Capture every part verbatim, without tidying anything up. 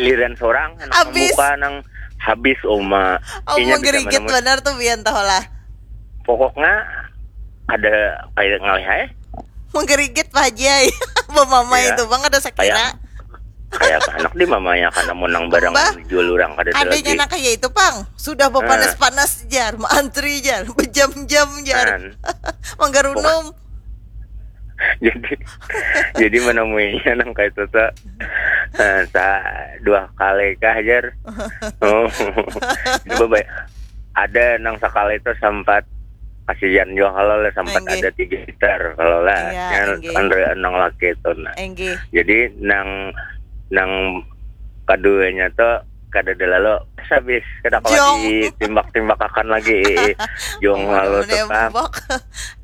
Giliran seorang anak Habis. Membuka nang habis uma. Oh, Inya bisa menggerigit menemui. Benar tuh bian tahu lah. Pokoknya ada kayak ngalih aja. Menggerigit Pak Haji ai. Bamamai Iya. Itu bang ada sakira. Kayak apa anak di mamanya karena mau nang barang Mbah, jual orang kada ada Adanya lagi. Nak kayak itu pang. Sudah berpanas-panas jar, antri jar, berjam-jam jar. Kan. Manggarunum. Jadi jadi menemuinya nang kayak itu tuh eh, sa dua kali kah jar. Oh. Coba baik. Ada nang sekali itu sempat kasihan juga kalau lah sempat Enggih. Ada tiga liter kalau lah Iya, yang enggih. Andre nang laki itu nah. Enggih. Jadi nang nang keduanya tuh kada ada lalu habis kada kalau Jong. Ditimbak-timbakakan lagi jong lalu tetap.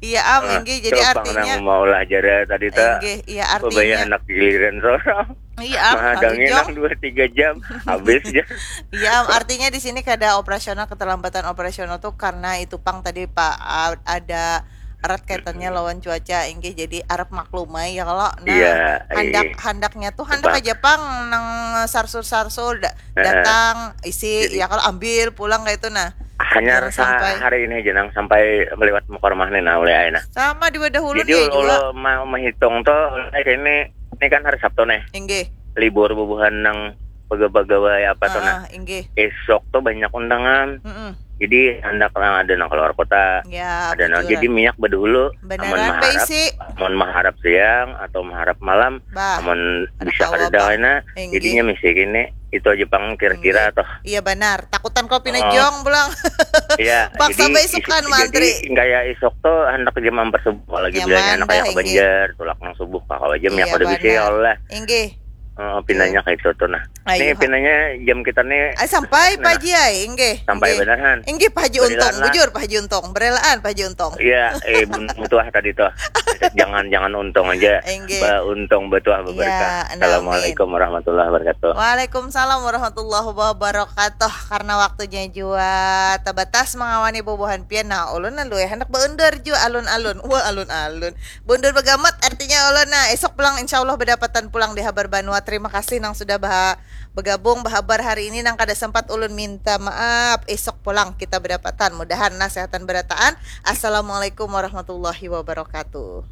Iya am, enggih. Jadi artinya Mau lah jara tadi tuh. Enggih, iya Bebaya artinya. Anak giliran seorang. Iya am, Mahadangi jong. Nang dua tiga jam habis ya. Iya am, artinya di sini kada operasional, keterlambatan operasional tuh karena itu pang tadi Pak a- ada erat kaitannya lawan cuaca, enggih, jadi arep maklumai ya kalau nah Iya, handak iya. Handaknya tuh handak Apa? Aja pang nang sarsur-sarsur da- Heeh. Datang isi Jadi- ya kalau ambil pulang kayak itu nah. Hanya Jangan sampai sampai. Hari ini aja nang sampai melewat muka rumah nih nah oleh aina. Sama di wadah ulun Jadi ya juga. Ulo mau menghitung tuh eh, ini ini kan hari Sabtu nih. Enggih. Libur bubuhan nang pegawai apa tuh nah. Ah, enggih. Esok tuh banyak undangan. Mm-mm. Jadi hendak nang ada nang keluar kota. Ya, Ada nang bujur. Jadi minyak bedulu. Beneran, Amun Pak maharap, Isi. Amun maharap siang atau maharap malam, Bah, amun ada bisa tahu kada apa? Daina, Enggih. Jadinya misi kini itu aja pang kira-kira Enggih. Toh. Iya benar. Takutan kau pina Oh. Jong pulang. Iya. Paksa jadi baisukan is- mantri. Jadi kayak isok tuh hendak jam empat subuh lagi Nyaman bilanya anak dah, kayak ke enggih. Banjar, tulak nang subuh kakak aja minyak Iya, udah bisa benar. Allah. Enggih. Oh, pinanya kayak itu tuh nah. Ayo, Nih ha. pinanya jam kita nih. Ay, sampai Nah, Pak Haji ay, enggih. Sampai Enggih. benar, Han? Enggih Pak Haji Berelaan Untung, lah. Bujur Pak Haji Untung, berelaan Pak Haji Untung. Iya, eh bun tuah tadi tuh. Jangan jangan untung aja. Enggih. Ba untung betuah beberkah. Iya, nah, Assalamualaikum warahmatullahi wabarakatuh. Waalaikumsalam warahmatullahi wabarakatuh. Karena waktunya juga terbatas mengawani bubuhan pian. Nah, ulun lalu ya hendak beundur juga alun-alun. Wah, alun-alun. Beundur begamat artinya ulun. Nah, esok pulang insya Allah berdapatan pulang di Habar Banua. Terima kasih nang sudah bah bergabung bahabar hari ini nang kada sempat ulun minta maaf. Esok pulang kita berdapatan. Mudahan nah sehatan berataan. Assalamualaikum warahmatullahi wabarakatuh.